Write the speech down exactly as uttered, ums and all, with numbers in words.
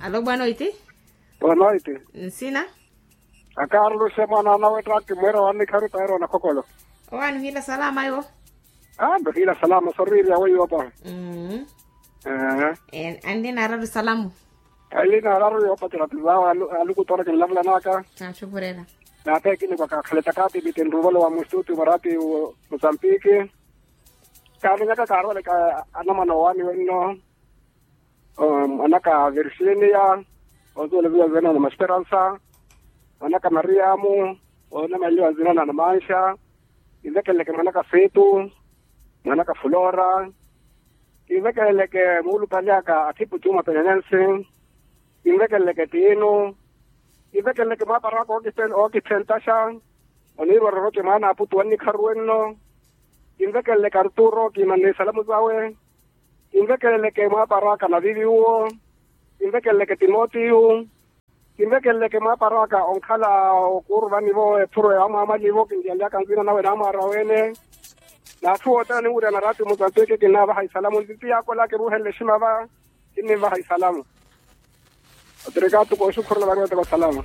Alo bwanoiti. Bwanoiti. Nsina. Akaruluxe mwana anawe trakti mwera wannikharu tairo wanakhokolo. Owanuhila salama iwo. Aa nduhila salama soririya weiwo pa. Anlina araru salamu. Anlina araru yoopatela tizawo. Aluku tora kinlavulanaka. Naatupurela. Naathe kinikwaka khaleta kaatipite nruvolo wa mustuti mwarati. Mussampiki. Kaaminyaka kaarwaleka anamwana owaani wenno. Mwanaka virginia. Ozuwela viwa zina na masperansa. Mwanaka mariamu. Onamanliwa zina na namanxa. Kivekeleke mwanaka fetu. Mwanaka fulora. Kivekeleke muulupali aka athipu cuma penyanyansi. Kivekeleke tinu. Kivekeleke mwaapara aka okiphentaxa. Oniirwa roroce mwaana aputu wannikharu wenno. Kinvekeleleke arturo kimanne isalamu zawe. Kinvekeleleke mwaapara aka navivi uwo. Kinvekeleleke timotiyu. Kinvekeleleke mwaapara aka onkhala okuuruvani-vo ephuro ya amwamwali-vo kintiyanlyaka nzina nawe naamwaara wene. N'atthu othene aniwurya narati musantweke kinnaavaha isalamu ntiti yaakola kiruuhenle eshima va. Kinnivaha isalamu. Otirikatu kooxukhurula variwataka osalama.